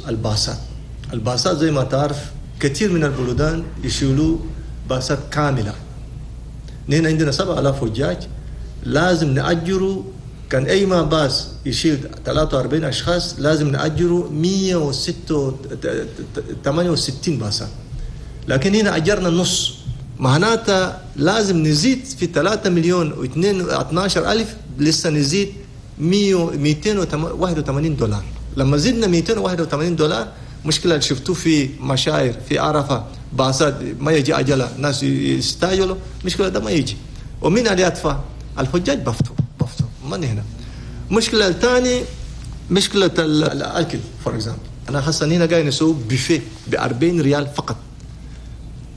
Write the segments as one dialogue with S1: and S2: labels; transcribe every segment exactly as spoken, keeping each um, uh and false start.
S1: الباصات. الباصات زي ما تعرف كثير من البلدان يشيلوا باصات كاملة. نحن عندنا سبعة آلاف حجاج لازم نأجروا، كان أي ما باص يشيل ثلاثة وأربعين أشخاص لازم نأجروا مئة وثمانية وستين باصات، لكن هنا أجرنا النص. معناتها لازم نزيد في ثلاثة مليون واثني عشر ألف، لسه نزيد مئتين وواحد وثمانين دولار. لما زدنا مئتين وواحد وثمانين دولار، مشكلة اللي شفتوه في مشاعر في عرفة باصات ما يجي أجلة، ناس يستعجلوا، مشكلة ده ما يجي. ومين اللي يدفع؟ الحجاج بفتوا بفتوا من هنا. مشكلة الثانية مشكلة الأكل for example. أنا حاسة هنا قاعد نسوي بوفيه ب أربعين ريال فقط.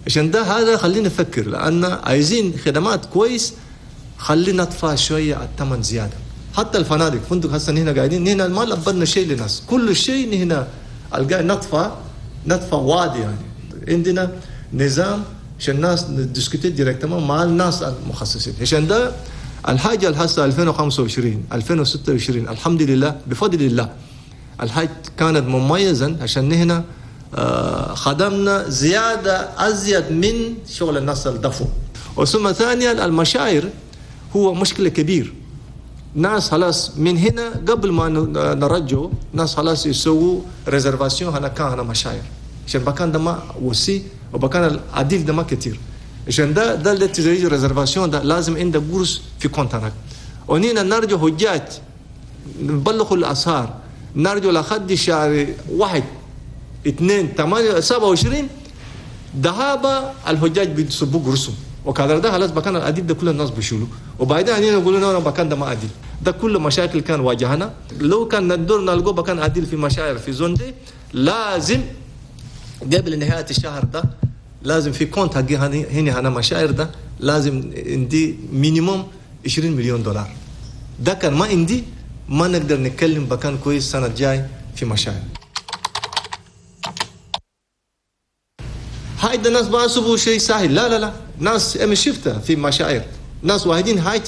S1: عشان ده هذا خلينا نفكر، لأن عايزين خدمات كويس، خلينا ندفع شوية الثمن زيادة. حتى الفنادق، فندق هسه هنا قاعدين هنا ما لبنا شيء للناس، كل شيء هنا القاعد ندفع ندفع وادي يعني. عندنا نظام عشان الناس ن discuter directement مع الناس المخصصين. عشان ده الحاجة الهسه ألفين وخمسة وعشرين ألفين وستة وعشرين الحمد لله بفضل الله الحج كانت مميزا، عشان هنا خدمنا زيادة أزيد من شغل الناس الدفو. وثم ثانيا المشاعر هو مشكلة كبير. ناس خلاص من هنا قبل ما نرجو ناس خلاص يسووا réservation هنا كان هنا مشاعر، عشان بكان ده ما وسي وبكان العديد ده ما كتير. عشان ده ده اللي تزيد réservation ده لازم عندك قرص في compte هناك. ونينا نرجو حجاج نبلغوا الأسعار، نرجو لحد شهر واحد اثنين ثمانية سبعة وعشرين ذهاب الحجاج بيصبوا قرصهم وكذا ده خلاص بكان العديد ده كل الناس بيشيلوا. وبعدين هنا يقولوا لنا بكان ده ما عديل. ده كل مشاكل كان واجهنا. لو كان ندور نلقوا بكان عديل في مشاعر في zone دي، لازم قبل نهاية الشهر ده لازم في compte حقي هنا هنا مشاعر ده لازم عندي minimum عشرين مليون دولار. ده كان ما عندي ما نقدر نتكلم بكان كويس السنة الجاي في مشاعر. هاي الناس بحسبوا شيء سهل، لا لا لا، ناس ام شفتها في مشاعر ناس واحدين هاي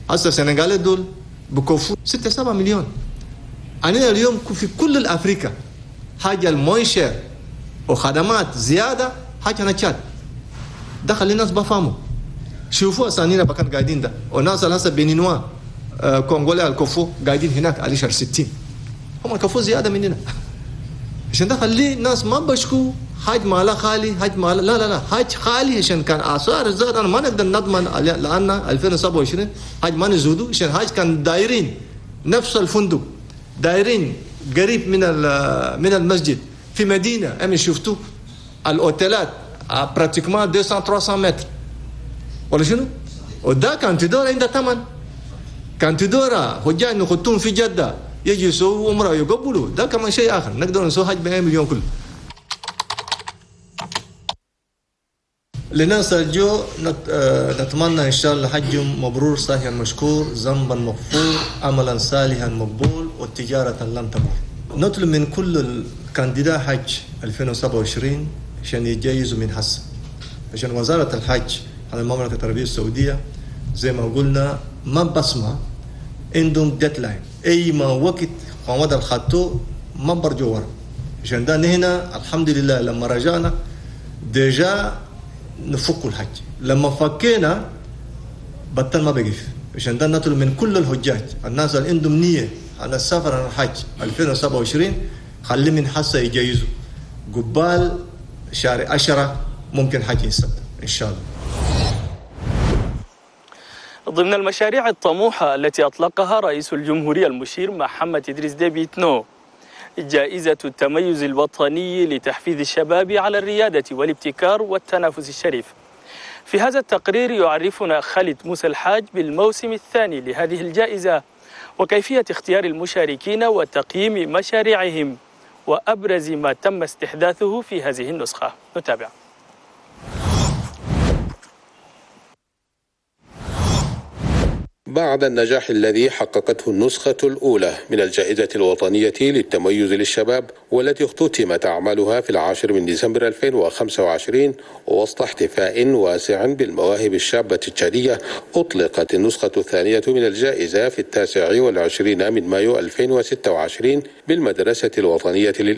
S1: هسه السنغال دول بكفوا ستة سبعة مليون. أنا اليوم في كل الأفريقيا حاجة ال moins cher وخدمات زيادة حاجة أنا تشاد ده خلي الناس بفهموا. شوفوا أسانينا بكان قاعدين ده وناس هسه بنينوا آه كونغولي الكفو قاعدين هناك على شهر ستين، هم الكفو زيادة مننا. عشان ده خلي الناس ما بشكوا حاج مالا خالي حاج مالا، لا لا لا حاج خالي عشان كان آثار زاد. أنا ما نقدر نضمن لأن ألفين وسبعة وعشرين حاج ما نزودوا، عشان حاج كان دايرين نفس الفندق دايرين قريب من من المسجد في مدينة أم شفتوا الأوتيلات pratiquement مئتين ثلاثمية متر ولا شنو؟ وده كان تدور عند ثمن، كان تدور حجاج نخطون في جدة يجي يسووا عمرة يقبلوا، ده كمان شيء آخر نقدر نسوي حج بمئة مليون كله. لناس الجو نتمنى إن شاء الله حج مبرور صحيح مشكور، ذنبا مغفور، عملا صالحا مقبول، وتجارة لن تبور. نطلب من كل ال candidat حج ألفين وسبعة وعشرين عشان يجيزوا من حسن، عشان وزارة الحج على المملكة العربية السعودية زي ما قلنا ما بصمة عندهم deadline، أي ما وقت قامد الخطو ما برجوا ورا. عشان ده هنا الحمد لله لما رجعنا déjà نفك الحج، لما فكينا بطل ما بقف. عشان ده نطلب من كل الحجاج الناس اللي عندهم نية على السفر على الحج ألفين وسبعة وعشرين خلي من حسه يجيزوا قبال شهر عشرة ممكن حج ينسد إن شاء الله.
S2: ضمن المشاريع الطموحة التي أطلقها رئيس الجمهورية المشير محمد إدريس ديبي إتنو جائزة التميز الوطني لتحفيز الشباب على الريادة والابتكار والتنافس الشريف. في هذا التقرير يعرفنا خالد موسى الحاج بالموسم الثاني لهذه الجائزة وكيفية اختيار المشاركين وتقييم مشاريعهم وأبرز ما تم استحداثه في هذه النسخة. نتابع.
S3: بعد النجاح الذي حققته النسخة الأولى من الجائزة الوطنية للتميز للشباب والتي اختتمت أعمالها في العاشر من ديسمبر ألفين وخمسة وعشرين وسط احتفاء واسع بالمواهب الشابة التشادية، أطلقت النسخة الثانية من الجائزة في التاسع والعشرين من مايو ألفين وستة وعشرين بالمدرسة الوطنية للإدارة.